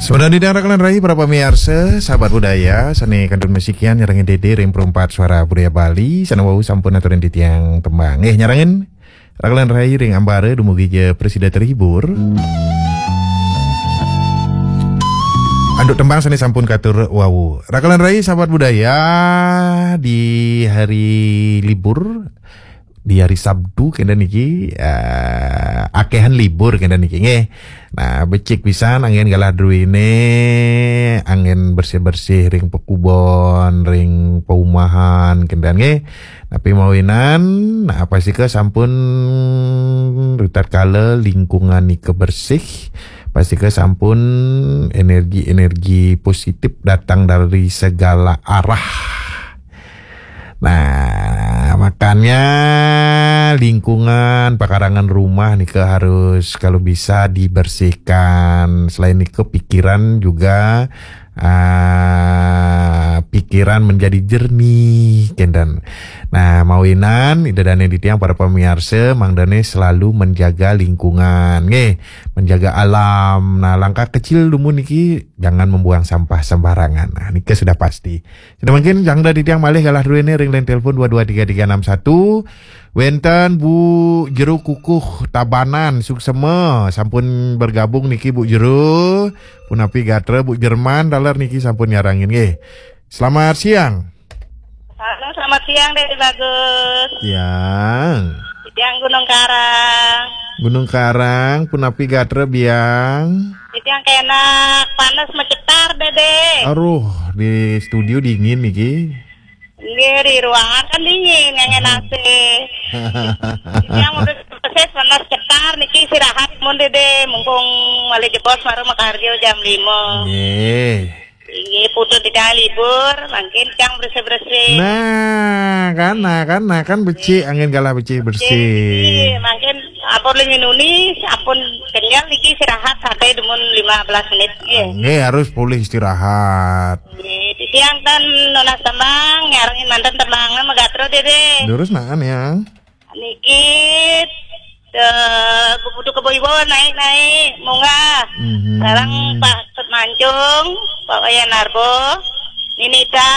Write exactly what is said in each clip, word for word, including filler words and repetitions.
Kemudian di daerah Kalan Rai, para pemirsa, sahabat budaya, sane kantun masikian nyarengin Dede ring Perempat Suara Budaya Bali, sane wau sampun aturin titiang tembang. Eh, nyarengin Rakalan Rai ring ambara dumugi ja prasida terhibur. Anduk tembang sane sampun katur wau. Rakalan Rai, sahabat budaya, di hari libur, di hari Sabtu kenten niki, eh, akehan libur kenten niki nggih. Nah, becik pisan anggen galah druene, anggen bersih-bersih ring pakubon, ring paumahan kenten nggih. Napi mawinan, nah, pastika sampun ritatkala lingkungan nika bersih, pastika sampun energi-energi positif datang dari segala arah. Nah, makanya lingkungan pekarangan rumah nika harus kalau bisa dibersihkan. Selain nika pikiran juga, ah, pikiran menjadi jernih kenten. Nah, mawinan Ida dane titiang para pamiarsa mangdane selalu menjaga lingkungan nggih, menjaga alam. Nah, langkah kecil dumun niki jangan membuang sampah sembarangan. Nah, nika sudah pasti. Sida mangkin jangda titiang malih galah druene ring line telepon dua dua tiga tiga enam satu. Wenten Bu Jero Kukuh Tabanan, suksema sampun bergabung niki Bu Jero. Punapi gatra Bu Jerman taler niki sampun nyarengin nggih. Selamat siang. Halo, selamat siang, Dede Bagus. Siang. Titiang Gunung Karang. Gunung Karang, punapi gatra biang? Titiang kenak panas macetar, Dede. Aduh, di studio dingin niki. Nggih, di ruangan kan dingin, ngangge Hmm. A C. Titiang udah persis panas cetar niki istirahat mun, Dede, mumpung malih jebos mara makarja jam lima. Nggih. Inggih, putu tiga libur, mangkin cang bersih-bersih. Nah, kan, nah, kan, nah, kan becik, anggen galah becik bersih. Nggih, mangkin ampun linginuni, ampun kenyel niki istirahat sampai dumun lima belas menit. Nggih. Nggih, harus pulih istirahat. Nggih, titiang ten nunas tembang, nyarengin manten tembang, magatra, Dede. Durus naan, ya. Niki, eh, kudu kebo ibu naik-naik, munggah. Mhm. Sareng Pak Tut Mancung, Pak Wayan Narbo, Ninita,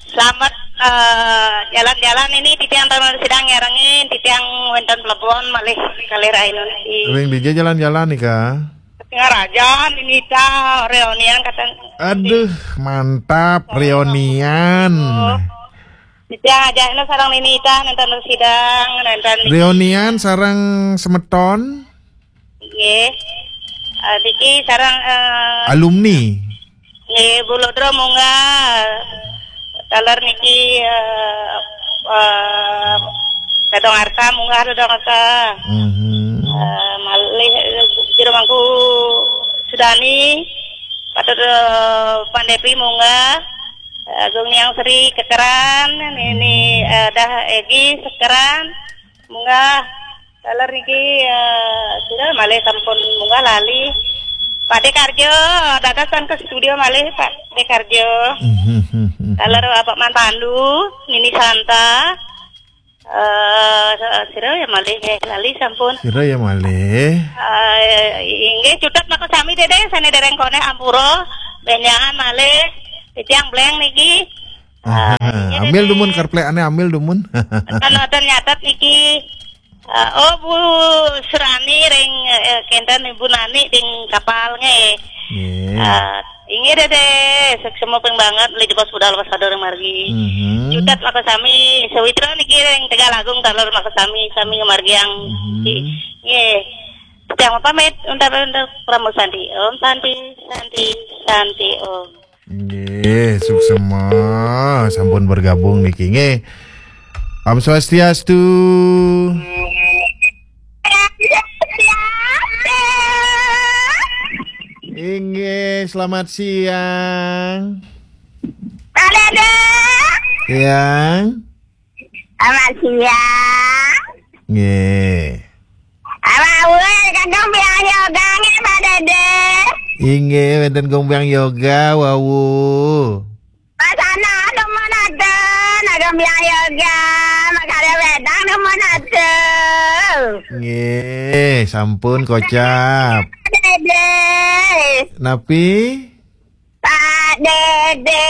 selamat, eh, jalan-jalan ini titiang taun sidang nyarengin, titiang wenten telepon malih kalih rainun. Ring dija jalan-jalan nika? Singaraja, Ninita, reunian kata. Aduh, mantap, reunian. Oh. Nitya ajakna sareng Ninita nenten sidang, nenten niki. Reunian sareng semeton? Nggih. Ah, niki sareng, eh, alumni. Nggih, Bu Lodro munggah. Taler niki, eh, eh, Dadong Arta munggah, Dadong Arta. Mhm. Eh, malih, eh, Jero Mangku Sudani, Patut, eh, Pandepi munggah. Agung Yang Sri Kekeran, Nini, eh, Dah Egi Sekeran, munggah. Taler niki, eh, sira malih sampun munggah lali. Pak De Karjo, dadasan ke studio malih Pak De Karjo. Taler Bapak Man Pandu, Nini Santa, eh, sira ya malih, eh, lali sampun. Sira ya malih. Eh, inggih cutet maka sami Dede sane dereng konek ampura benjangan malih titiang bleng niki. Aha, eh, inggih ambil Dede. Dumun kerplekane ambil dumun. Kan wonten nyatet niki. Eh, oh, Bu Surani ring, eh, kenten Ibu Nani ring kapal nggih. Nggih. Eh, inggih Dede, suksma ping banget, malih jebos budal waspada ring margi. Mhm. Cutet maka sami, sawitra niki ring Tegal Agung taler maka sami, sami ngamargiang. Mhm. Nggih. Titiang pamit, untuk, untuk Pramu Santi. Om Santi, Santi, Santi, Om. Nggih, suksma sampun bergabung niki nggih. Om Swastiastu. Inggih, selamat siang. Pak Dede. Siang. Selamat siang. Nggih. Awak awak kagum biang yoga nggih, Pak Dede. Inggih, wenten gong biang yoga, wau. Pasana dumun atun, kagum biang yoga, makarya wedang dumun atun. Nggih, sampun kocap. Dede. Napi? Pak Dede